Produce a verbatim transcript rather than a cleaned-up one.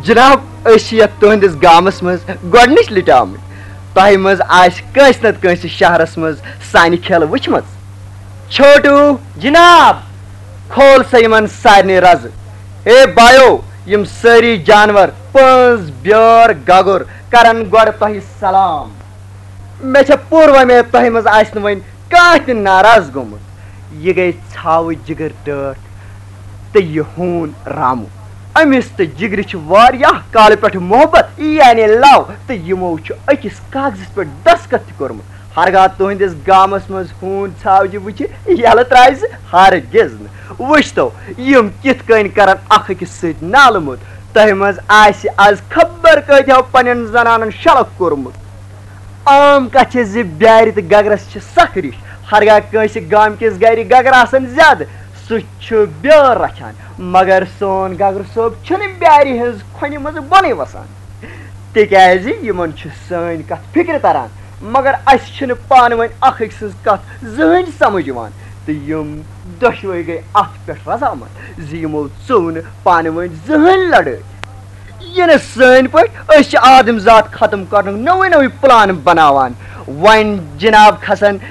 جناب، أسۍ چھِ یتھ تُہنٛدِس گامس منٛز گۄڈٕنِچ لٹہِ آمٕتۍ۔ تۄہہِ منٛز آسہِ کٲنٛسہِ نتہٕ کٲنٛسہِ شہرس منٛز سانہِ کھیلہٕ وٕچھمٕژ۔ چھوٹو۔ جناب۔ کھول سا یِمن سارنٕے رزٕ۔ ہے بایو، یِم سٲری جانور، پٔنٛز، بیٲر، گگر، کرن گۄڈٕ تۄہہِ سلام۔ مےٚ چھےٚ پوٗرٕ وۄمید تۄہہِ منٛز آسہِ نہٕ وۄنۍ کانٛہہ تہِ ناراض گوٚمُت۔ یہِ گٔے ژھاوٕج جگر ٹٲٹھ تہٕ یہِ ہوٗن رامو۔ أمِس تہٕ جگرِ چھِ واریاہ کالہٕ پٮ۪ٹھٕ محبت، یعنی لو، تہٕ یِمو چھُ أکِس کاغذس پٮ۪ٹھ دستخط تہِ کوٚرمُت۔ ہرگاہ تُہنٛدِس گامس منٛز ہوٗن ژھاوجہِ وٕچھِ، یلہٕ ترٛاوِ سُہ ہرگز نہٕ۔ وٕچھتو، یِم کِتھ کٔنۍ کرن اکھ أکِس سۭتۍ نالہٕ موٚت۔ تۄہہِ منٛز آسہِ از خبر کۭتیاہ پننٮ۪ن زنانن شلکھ کوٚرمُت۔ عام کتھ چھِ زِ بیارِ تہٕ گگرس چھِ سخ ریش۔ ہرگاہ کٲنٛسہِ گامہٕ کِس گرِ گگر آسن زیادٕ، سُہ چھُ بیٲر رچھان، مگر سون گگر صٲب چھُنہٕ بیارِ ہٕنٛز کھۄنہِ منٛز بۄنٕے وسان، تِکیازِ یِمن چھِ سٲنۍ کتھ فکرِ تران، مگر اسہِ چھِنہٕ پانہٕ ؤنۍ اکھ أکۍ سٕنٛز کتھ زٕہٕنۍ سمجھ یِوان، تہٕ یِم دۄشوے گٔے اتھ پٮ۪ٹھ رضامند زِ یِمو ژوٚو نہٕ پانہٕ ؤنۍ زٕہٕنۍ لڑٲے۔ یہِ نہٕ سٲنۍ پٲٹھۍ، أسۍ چھِ آدم ذات ختم کرنُک نوٚوُے نوٚوُے پلان بناوان۔ وۄنۍ جناب کھسن